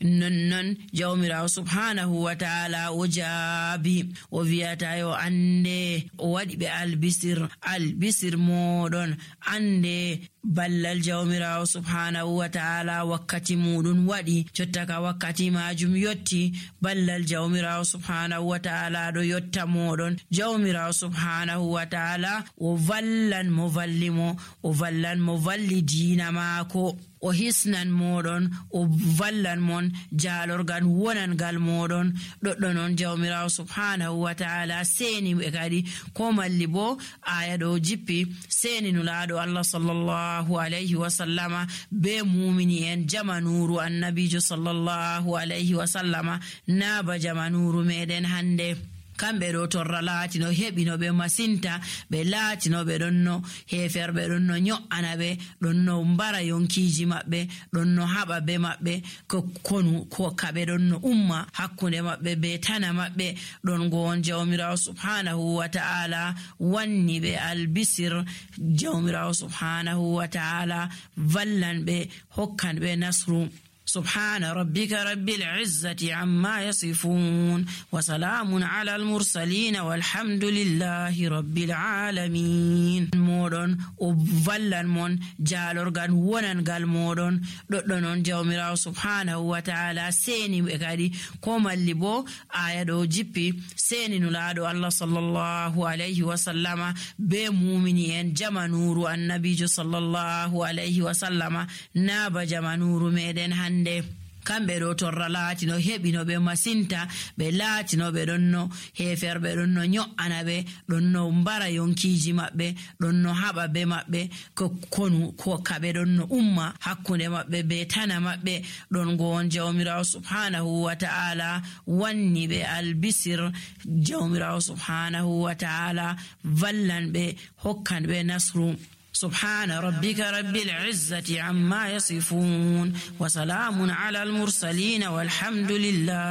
nonnon jawmirawo subhanahu wa ta'ala o jaabi o wiyata yo ande o waɗi ɓe albisir moɗon ande ballal jawmirawo subhanahu wa ta'ala wakkati muɗum waɗi jottaka wakkati majum yotti ballal jawmirawo subhanahu wa ta'ala ɗo yotta moɗon. Jawmirawo subhanahu wa ta'ala o vallan mo vallimo, o vallan mo valli diina maako, o hisnan moɗon, o vallan mon jalorgal wonangal moɗon. ɗoɗɗo noon jawmirawo subhanahu wa ta'ala seni ɓe kadi ko malli bo aya ɗo jippi seni nulaɗo Allah sallallahu alayhi wa sallama be mumini en jamanuru annabijo sallallahu alayhi wa sallama naaba jamanuru meɗen hande. kamɓe ɗo torra laatino heɓino ɓe masinta, ɓe laatino ɓe ɗonno heferɓe ɗonno nyo'ana ɓe, ɗonno mbara yonkiji maɓɓe, ɗonno haɓa be maɓɓe ko kaɓe ɗonno umma hakkunde maɓɓe be tana maɓɓe. ɗon gon jawmirawo subhanahu wa ta'ala wanni ɓe albisir, jawmirawo subhanahu wa ta'ala vallan ɓe, hokkan ɓe nasru. سبحان ربك رب العزة عما يصفون وسلام على المرسلين والحمد لله رب العالمين. مودون وفلان مون جالورغان ونانغال مودون دودون جawmirawo subhanahu wa ta'ala seni ɓe kadi ko malli bo aya ɗo jippi seni nulaɗo Allah sallallahu alayhi wa sallama be mumini en jamanuru annabijo sallallahu alayhi wa sallama naaba jamanuru meɗen hande. kamɓe ɗo torra laatino heɓino ɓe masinta, ɓe laatino ɓe ɗonno heferɓe ɗonno nyo'ana ɓe, ɗonno mbara yonkiji maɓɓe, ɗonno haɓa be maɓɓe ko kaɓe ɗonno umma hakkunde maɓɓe be tana maɓɓe. ɗon gon jawmirawo subhanahu wa ta'ala wanni ɓe albisir, jawmirawo subhanahu wa ta'ala vallan ɓe, hokkan ɓe nasru. سبحان ربك رب العزة عما يصفون وسلام على المرسلين والحمد لله